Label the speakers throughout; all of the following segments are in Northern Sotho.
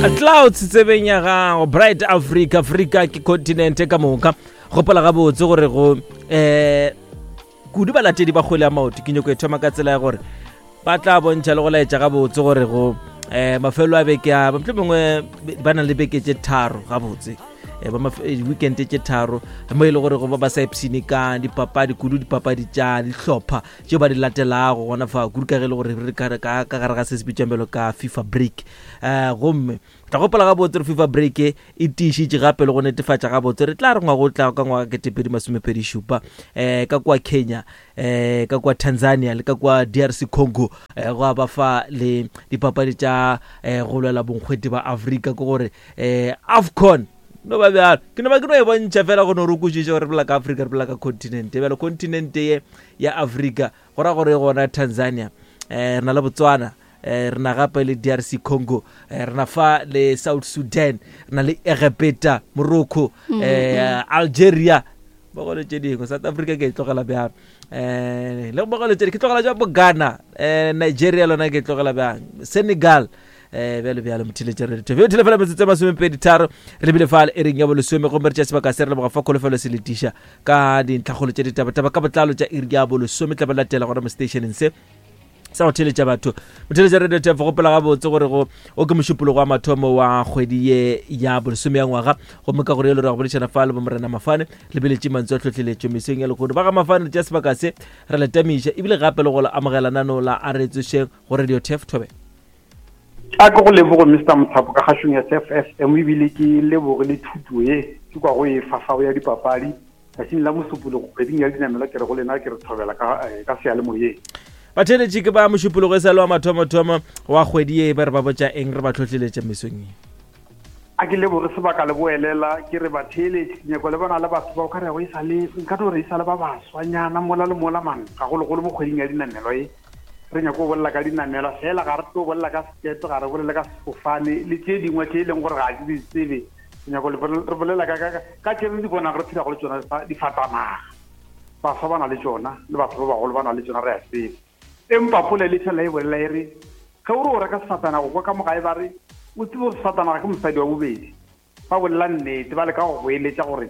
Speaker 1: Clouds tsebeng ya gago Bright Africa Africa ke continent ka moka gopola gabotse gore go eh kudu balatedi ba kgwele ya maoto ke nyoko e thoma ka tsela ya gore ba tla bontšha le go laetša gabotse gore go um mafelo a beke a motlho mongwe ba na le beke tše tharo gabotse eh, eh, weekend tše tharo mo e le gore go ba ba sa ipshine ka dipapadi kudu dipapadi tša dihlopha tšeo ba di latelago gona fa kudu ka ge e le gore re ka gare ga se se bitswang bjalo ka fifa break um gomme tla gopola gabotse re fifa break e tiišitše gape le go netefatša gabotse re tla re ngwago o tla ka ngwaga ketepedi masomepedi šupa um ka kua kenya um ka kua tanzania le ka kua drc congo um go a ba fa le dipapadi tša um go lwela bonkgwete ba afrika ke gore um afcon no ba bjalo ke no ba ke no e bontšha fela go no re kwešiše gore re bolela ka afrika re bolela ka continente bjalo continente ye ya afrika go ra gore e gona tanzania um re na le botswana Eh, re na gape le drc congo eh, re na fa le south sudan re na le egepeta morocco mm, eh, mm. algeria bogolo tše dingwe south africa ke e tlogela bjang um le bogolo tše ke tlogela jang bo ghana um nigeria lona ke e tlogela bjang senegal um bjalo bjalo motheletše re ditho bjo fela metsotso masomepedi tharo re lebile fa e reng ya bolesome gomme re tša sebaka se re leboga fa kholofelo se letiša ka dintlhakgolo tše ditabataba ka botlalo tša iri ya bolesome tla ba latela gona mo stationeng se sa go theletša batho motheletša radio tef gopola gabotse gore go o ke mošupologo wa mathomo wa kgwedi ye ya bolesome ya ngwaga gomme ka gore yelo re go boledišana fa le bomorena mafane lebeletše mantswe a tlhohleletšo mesong ya lehono ba ga mafane re tša sebaka se re le tamiša ebile gape le go le amogela nano la a re tsošeng go radio tef thobe
Speaker 2: a ke go lebogo mr mothapo ka kgašong ya cf fm ebile ke leboge le thuto ye ke kwa go e fafago ya dipapadi Tšatšing la Mosupologo kgweding ya Dinamela ke re go lena ke re thobela ka, eh, ka seyalemoyeng.
Speaker 1: Batheeletši ke ba Mošupologo e sa le wa mathomothomo wa kgwedi ye ba re ba botša eng re ba tlhohleletša mesong ye.
Speaker 2: A ke leboge sebaka le boelela ke re batheeletši ke nyako le bona le batho ba o ka rego e sa le nka no re e sa le ba baswanyana mola le mola man gagologolo mo kgweding ya dinamelo e re nyako go bolela ka dinamelwa fela ga re tlo bolela ka sekepe ga re bolele ka sefofane le tše dingwe tše e leng gore ga ke di tsebe nyako re bolela ka ka ka tše re di bonang re phela go le tsona difatanaga baswa ba na le tsona le batho ba bagolo ba na le tsona re a tseba empa polelo e fela e bolela e re ge o re o reka sefatanaga kwa ka mogae ba re o tsebe gore sefatanaga ke mosadi wa bobedi ba bolela nnete ba leka go go eletša gore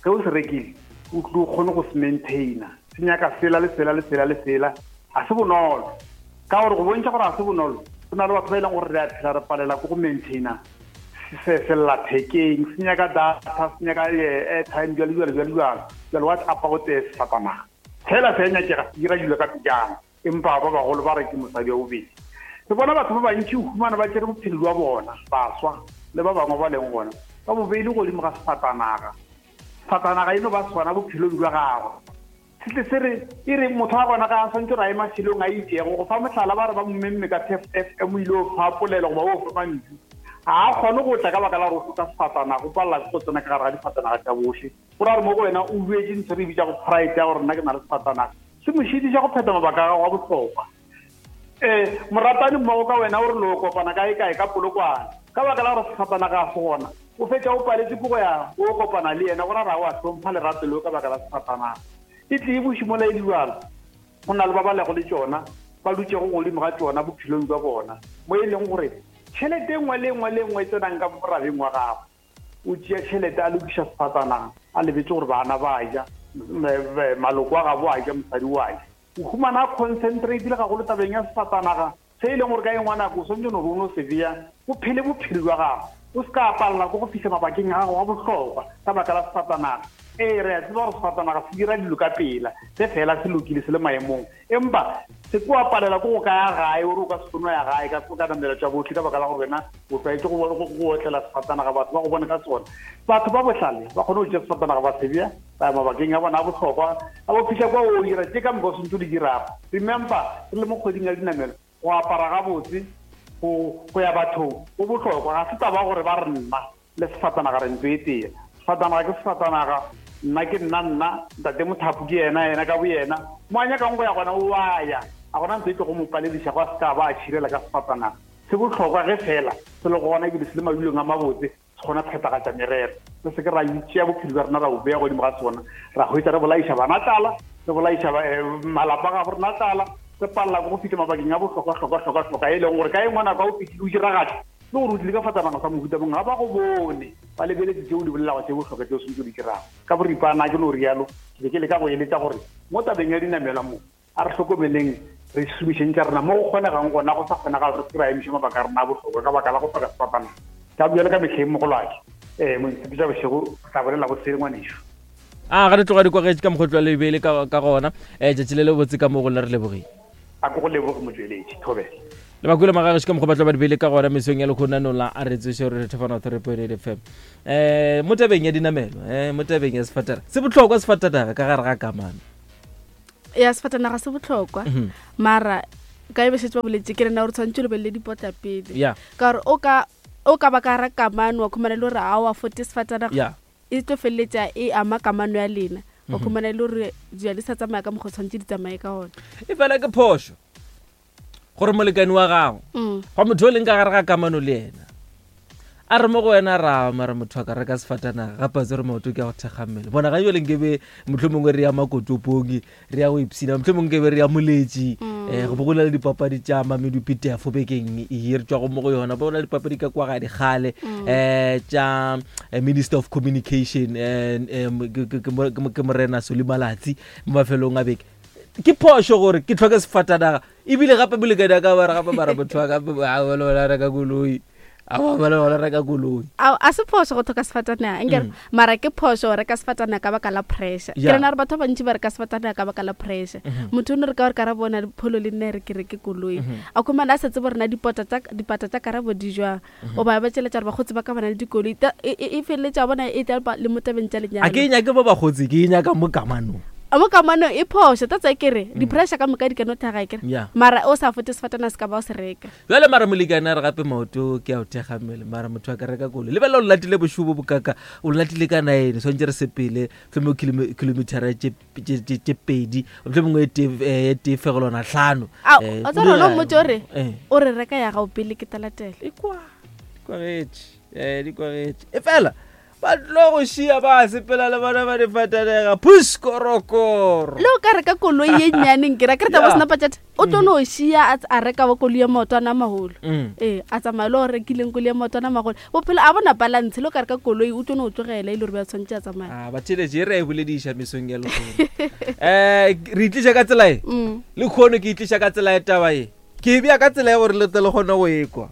Speaker 2: ge o se rekile o tlo kgone go se maintaina se nyaka sela le sela le sela le sela ga se bonolo ka gore go bontšha gore ga se bonolo go na le batho ba e leng gore re a phela re palela ko go maintaina sellathekeng se nyaka data se nyaka eh, airtime jalo jalo jalo jalo jalo what about eh, sefatanaga fela se nyakega se dira dilo ka pejana empa ba bagolo ba re ke mosadi wa bobedi re bona batho ba bantši o humana ba tšere bophelo jwa bona baswa le ba bangwe ba leng gona ba bo beile godimo ga sefatanaga sefatanaga e no ba sona bophelong jwa gagwe Se tle se re, e re, motho wa gona ga a swantše gore a ye mafelong a itšego. Go fa mohlala, ba re ba mo memme ka TFFM o ile o fa polelo goba o fa mantšu. Ga a kgone go tla ka baka la gore o hloka sefatanaga, o palela ke go tsena ka gare ga difatanaga tša bohle. Go ra gore mo go wena o buetše ntho re e bitšago pride ya gore nna ke na le sefatanaga. Se mo šitiša go phetha mabaka a gago a bohlokwa. Ee, moratani mmogo ka wena o re lo kopana kae kae ka Polokwane. Ka baka la gore sefatanaga ga se gona, o fetša o paletše ke go ya o kopana le yena, go ra ra o a hlompha lerato leo ka baka la sefatanaga. E tle e buše mola e le go na le ba ba lego le tšona, ba dutšego godimo ga tšona bophelong bja bona, mo e leng gore tšhelete e nngwe le e nngwe le e nngwe e tsenang ka morabeng wa gagwe, o tšea tšhelete a lokiša sefatanaga, a lebetše gore bana ba ja, maloko a gabo a ja, mosadi o a ja. O humana a concentrate-ile gagolo tabeng ya sefatanaga, se e leng gore ka e nngwe nako o swanetše no re o no se bea, o phele bophelo bja gago. O se ka palela ke go fihla mabakeng a gago a bohlokwa ka baka la sefatanaga. Ee, re a tseba gore sefatanaga se dira dilo ka pela, ge feela se lokile se le maemong. Empa se ke wa palela ke go ka ya gae, o re o ka se kgone go ya gae ka ka namela tša bohle ka baka la gore wena o tlwaetše go go otlela sefatanaga, batho ba go bone ka sona. Batho ba bohlale ba kgone go tšea sefatanaga ba se bea ba ya mabakeng a bona a bohlokwa, a bo fihla kwa o dira tše ka moka o swantse o di dirago. Remember, re le mo kgweding ya dinamelo, go apara gabotse, go go ya bathong go bohlokwa. Ga se taba gore ba re nna le sefatanaga re ntlo e tee. Sefatanaga ke sefatanaga, nna ke nna nna, ntate Mothapo ke yena yena ka boyena. Mo a nyakang go ya gona o a ya, ga gona ntho e tlogo mo palediša go a se ka ba a tšhirela ka sefatanaga. Se bohlokwa ge fela se le gona ebile se le madulong a mabotse. Se kgona phethagatša merero. Re se ke ra tšea bophelo bja rena ra bo bea godimo ga sona, ra hwetša re bolaiša bana tlala, re bolaiša eh, malapa ga rena tlala, re palela ke go fihla mabakeng a bohlokwa hlokwa hlokwa hlokwa e leng gore ka e nngwe nako a o fihlile o diragatša. Le gore o tlile ka fatanaga sa mohuta mongwe, ga ba go bone, ba lebeletse tše o di bolelago tše bohlokwa tše o swanetše o di dirago. Ka boripana ke no rialo, ke be ke leka go eletša gore mo tabeng ya dinamelwa mo, a re hlokomeleng re šomišeng tša rena mo go kgonegang gona, go sa kgonagale re se ke ra emiša mabaka a rena a bohlokwa ka baka la go hloka sefapanana. Ka bjalo ka mehleng mogolwake, um montshepetša bošego, re tla bolela bosele ngwanešu.
Speaker 1: A ga re tloga di kwagetše ka mokgwa o tloga le beile ka gona. Um tšatši le le botse ka mo go lena re lebogile.
Speaker 2: A ko go leboge motšweletši, thobela.
Speaker 1: Le bakwele magagešo ka mokgwa ba tlo ba di beile ka gona mesong ya lekgonano la a re tsoše re thefana 3.8 FM. Eh mo tabeng ya dinamelo, eh mo tabeng ya sefatanaga. Se bohlokwa sefatanaga ka gare ga kamano.
Speaker 3: Ya sefatanaga se bohlokwa. Mm -hmm. Mara ka e be šetše ba boletše ke rena gore tshwanetse o lebelele dipotla pele.
Speaker 1: Yeah.
Speaker 3: Ka gore o ka o ka ba ka ra kamano wa khumana le gore a wa fote sefatanaga.
Speaker 1: Yeah.
Speaker 3: E tlo feleletša e ama kamano ya lena. Wa khumana e le gore dilo di sa tsamaya ka mokgwa o tshwanetse di tsamaye ka gona.
Speaker 1: E fela ke phošo gore molekane wa gago mm. gwa motho o leng ka gare ga kamano le yena a re mo go wena ra mara motho a ka reka sefatanaga gape a tsere maoto ke ya go thekga mmele bona ga jale nkebe motlho mongwe re ya makotopong re ya go ipshina motlho mongwe nkebe re ya moletši um go bo go na le dipapadi tša mamedupitefo bekeng e re tswago mo go yona bo go na le dipapadi ka kwa ga dikgale um tša eh, minister of communication um ke morena soli malatsi mo mafelong a beke ke phošo gore ke tlhoke sefatanaga ebile gape molekane a ka bare gape mara motho wa gape a reka koloi a reka koloi
Speaker 3: a se phoso go tlhoka sefatanaga nkere mm. mara ke phoso go reka sefatanaga ka baka la pressure ke rena gore batho ba bantši ba reka sefatanaga ka baka la pressure mm-hmm. motho o ne re ka gore ka ra bona pholo le nna re ke reke koloi mm-hmm. a khumana a setse bo rena dipota tsa karabo di jwang mm-hmm. o ba ba tšeletša gore bakgotsi ba ka bana le dikoloi e, e, e feleletša bona e tla le mo tabeng tša lenyalo
Speaker 1: a ke e nyake mo bakgotsi ke e nyaka mo kamanong
Speaker 3: mo kamanong e phošo ta tsa ke re mm. di-pressure ka moka di ka no thaga kere mara o sa fote sefatana se ka ba o se reka
Speaker 1: jale mara molekane a re gape maoto ke a o thekga mmele mara motho a ka reka koloi lebelela o latile bošobo bokaka o latile ka nine swantse re sepele tlhomo kilometera tše tše pedi mohlomongwe e tee eh, e tee fegelwana tlhano
Speaker 3: eh, o tsere o mmotse o re eh. o re reka ya gago pele ke talatela
Speaker 1: e kwa di kwagetše um di kwagetše e fela ba tlo go šia ba sepela le bona ba di fatanega puskorokoro
Speaker 3: le o ka reka koloi ye nnyaneng ke ra ke re taba sena pajete o tlo no šia a reka wa koloi ya maotwana a magolo mm. ee a tsamaya le o rekileng koloi ya maotwana a magolo bophelo a bona balance le o ka reka koloi o tlo no tlogela e le gore ba tshwanetse a tsamaya
Speaker 1: ah, batheletše e re a e bolediša mesong ya lekgono um re itliša ka tsela e mm. le kgono ke itliša ka tsela e taba e ke e bea ka tsela ya gore le tle le kgone go ekwa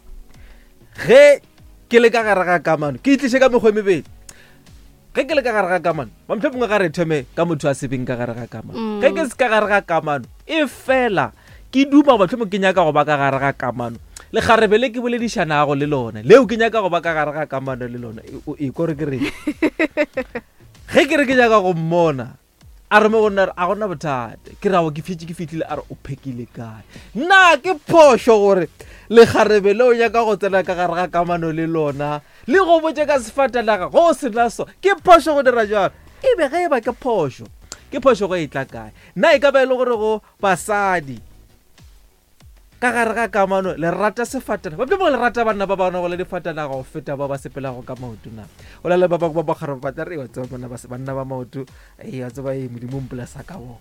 Speaker 1: ge ke le ka gare ga kamano ke itliše ka mekgwa e mebedi ge ke le ka gare ga kamano mamtlho mongwe ga re thome ka motho a sebeng ka gare ga kamano mm. ge ke se ka gare ga kamano e fela ke duma goba tlhomo ke nyaka go ba ka gare ga kamano lekgarebe le ke boledišanago le lona leo ke nyaka go ba ka gare ga kamano le lona e kore ke reng ge ke re ke nyaka go mmona a re mo go nna a gona bothata ke rago ke fetše ke fitlhile a re o phekile kae na ke phošo gore lekgarebe le o nyaka go tsena ka gare ga kamano le lona le go botse ka sefatanaga go o sena so ke phošo go dira jalo e be ge e ba ke phošo ke phošo go e tla kae na e ka ba e le gore go basadi Ka gare ga kamano, le rata sefatanaga. Ba bangwe le rata banna ba ba nago le difatanaga go feta ba ba sepelago ka maoto na. O na le ba bangwe ba bakgare ba tla re wa tseba banna ba banna ba maoto, ee wa tseba ee Modimo mpolesa ka bona.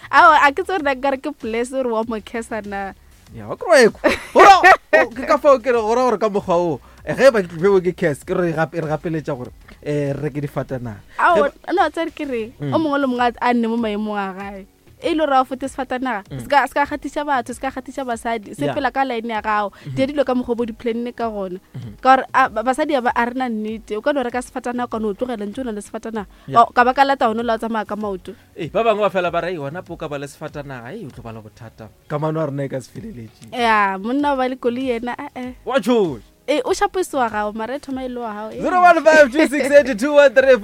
Speaker 3: Ao a ke tsebe gore na nkare ke bless gore wa mo curse na.
Speaker 1: Ya wa kry ekwa. Gora ke ka fao ke re gora gore ka mokgwa o eh, ge ba ke tlo ke curse ke re gape re gapeletša gore eh re reke difatanaga.
Speaker 3: Ao no tsere ke re o mongwe le mongwe a nne mo maemong a gae. e le gore fote sefatanaga mm. se ka kgathiša batho se ka kgathiša basadi se pela ka line ya gago mm-hmm. dia dilo ka mokgwa bo di-planne ka gona mm-hmm. ka gore basadi a re na nnete o ka no reka sefatanaga ka no o tlogela ntse o na le sefatanaga ka ba ka lata one la o tsamaya ka maoto
Speaker 1: ee ba bangwe ba fela ba re gona po ka ba le sefatanaga e o tlo ba le bothata kamano a rena e ka se feleletše
Speaker 3: ya monna o ba le koloi yena ee
Speaker 1: wa tshoša
Speaker 3: ee o šapoise wa gago mara e thoma e le wa gago
Speaker 1: 015268213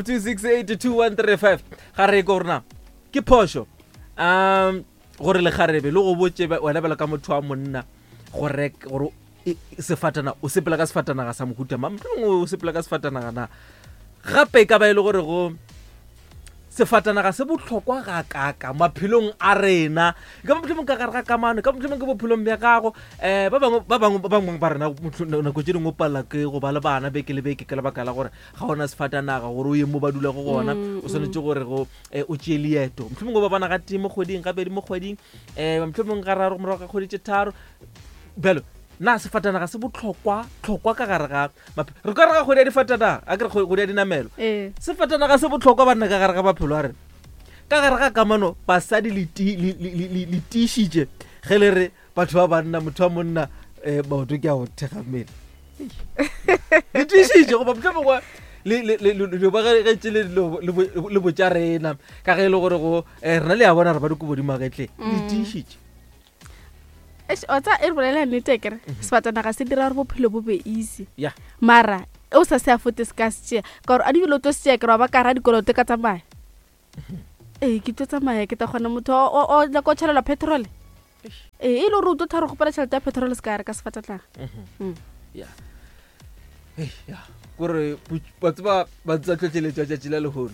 Speaker 1: 015268213 ga re ko rena Ke phošo um gore lekgarebe le go botše wena bjalo ka motho wa monna gore gore sefatana o sepela ka sefatanaga sa mohuta mang mohlomongwe o sepela ka sefatanaga na gape e ka ba e le gore go sefatanaga se bohlokwa ga kaka maphelong a rena e ka ba mohlomong ka gare ga kamano e ka mohlomong ke bophelong bja gago um ba bangwe ba bangwe ba bangwe ba rena nako tše dingwe o palela ke go ba le bana beke le beke ka lebaka la gore ga ona sefatanaga gore o ye mo ba dulago gona o swanetše gore go eh, o tšee leeto mohlomongwe ba bona ga tee mo kgweding gabedi mo kgweding um mohlomongwe ga raro morago ga kgwedi tše tharo bjalo Na sefatanaga se bohlokwa hlokwa ka gare ga maphelo? Re ka re ga kgwedi ya difatanaga, a ke re kgwedi ya dinamelo.
Speaker 3: Ee.
Speaker 1: Sefatanaga se bohlokwa banna ka gare ga maphelo a rena. Ka gare ga kamano basadi le ti- le- le- le- le- le tiišitše ge le re batho ba banna motho wa monna um maoto ke a go thekga mmele. Le tiišitše goba mohlomongwe le le- le- le- le ba ge ge tšele dilo le bo- le botša rena ka ge e le gore go eh, rena le a bona re ba dikobo di magetleng. Le tiišitše.
Speaker 3: Eish, o tsa e re bolela nnete kere mhm. sebatana ga se dira gore bophelo bo be easy
Speaker 1: yeah.
Speaker 3: mara o sa se afote se ka se tšea ka gore a dibile o tlo se tšea kere wa ba kara dikoloto ka tsamaya mhm. ee ke tlo tsamaya ke tla kgona motho o nyaka o tšhelelwa petrol ee e le gore o tlo tharo gopela tšhelete ya petrol se ka re ka sefatatlaga
Speaker 1: mhm. mm. kore ba tseba ba tsa tlhotlheletša tšatši la lehono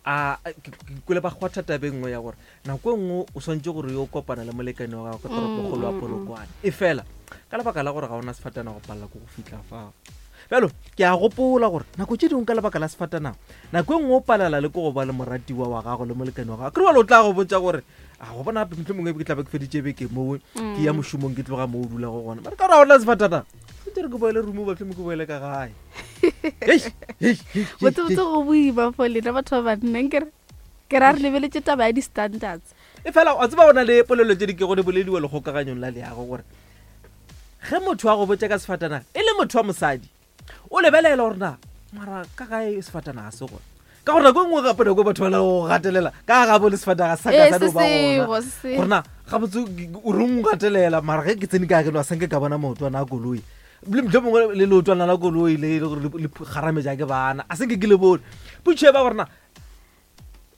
Speaker 1: a ke kwele ba kgwatha tabeng nngwe ya gore nako e nngwe o swantse gore yo kopana le molekane wa gago ka toropokgolo ya mm, mm, mm. Polokwane e fela ka lebaka la gore ga ona sefatana go palela ko go fitlha fao. Bjalo ke a gopola gore nako tše dingwe ka lebaka la sefatanaga nako e nngwe o palela le ko go ba le moratiwa wa gago le molekane wa gago kere wale o tla go botsa gore a go bona gape motlho mongwe ke tlabe ke feditše beke mowe ke ya mošomong ke tloga mo o dulago gona mare ka gore ga ona sefatanaga sentse re ke boele rumo batlho mo ke boele ka gae.
Speaker 3: Botsebotse go boima for lena batho ba banna nkere ke ra re lebeletše taba ya di-standards.
Speaker 1: E fela wa tseba go na le polelo tše di kego di bolediwa lekgokaganyong la leago gore ge motho a go botša ka sefatanaga e le motho wa mosadi o lebelela gore na mara ka gae sefatanaga se gona ka gore nako e nngwe gape nako e batho ba le go gatelela ka gabo le sefatanaga sa ka sa no ba gona gore na gabotse o reng o gatelela mara ge ke tsene ka geno a sanke ka bona maotwana a koloi le motlho mongwe le leotwana la koloi le e le gore le kgarametša ke bana a senke ke le bone potšo e ba gore na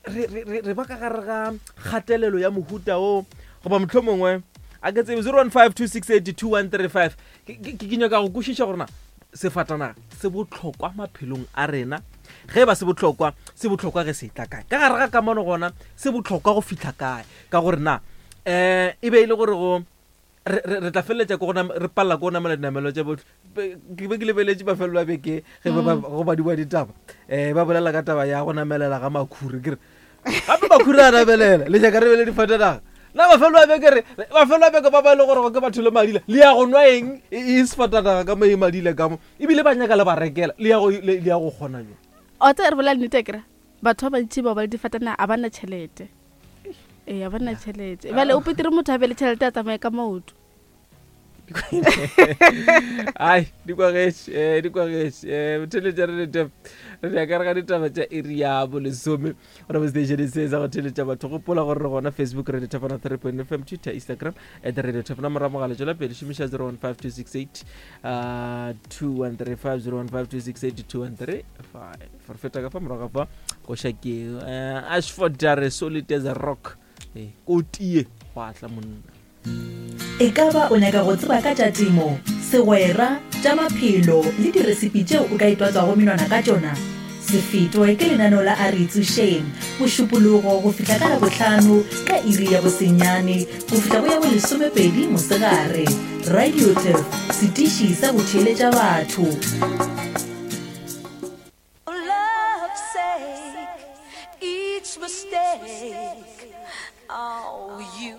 Speaker 1: re ba ka gare ga kgatelelo ya mohuta o goba motlho mongwe a ke tsebe 0152682135 ke nyaka go kwešiša gore na sefatanaga se bohlokwa maphelong a rena ge e ba se bohlokwa se bohlokwa ge se tla kae ka gare ga kamano gona se bohlokwa go fihla kae ka gore na um e be e le gore go re tla feleletša ko re palela ko go namela dinamelo tša botlhe. Ke be ke lebeletše mafelelo a beke ge mm. go badiwa ditaba um ba bolela ka taba ya go namelela ga makhuri ke re gape makhuri a namelela le nyaka re bele difatanaga na mafelelo a beke re mafelelo a beke ba ba e le gore ke batho le madila le ya go nwa eng e, e sefatanaga ka mo e madila ka mo ebile ba nyaka le ba rekela le ya go kgona jo
Speaker 3: o tse re bolela nnete kere batho ba bantši ba ba le difatanaga a ba na tšhelete ee a ba na tšhelete bjale o petere motho a be le tšhelete a tsamaye ka maoto.
Speaker 1: Ai di kwagetše eh, di kwagetše eh, theletša re lete re ya ka re ga ditaba tša iri ya bolesome gona mo station se sa go theletša batho. Gopola gore re gona Facebook Radio Thapana 3 point fm, Twitter, Instagram at Radio Thapana. Morago mogala tšwela pele šomiša 015268 2135 015268 2135. Re feta ka fa morago ga fa koša ke uh, Ashford a re solid as a rock eh, ko tie go atla monna.
Speaker 4: E ka ba o nyaka go tseba ka tša temo, segwera, tša maphelo le diresipi tšeo o ka itwatswago menwana ka tšona? Se fetwe ke lenaneo la A Re Itsošeng, Mošupologo go fihla ka Labohlano ka iri ya bosenyane go fihla go ya bolesomepedi mosegare. Radio Turf, setiši sa go theeletša batho.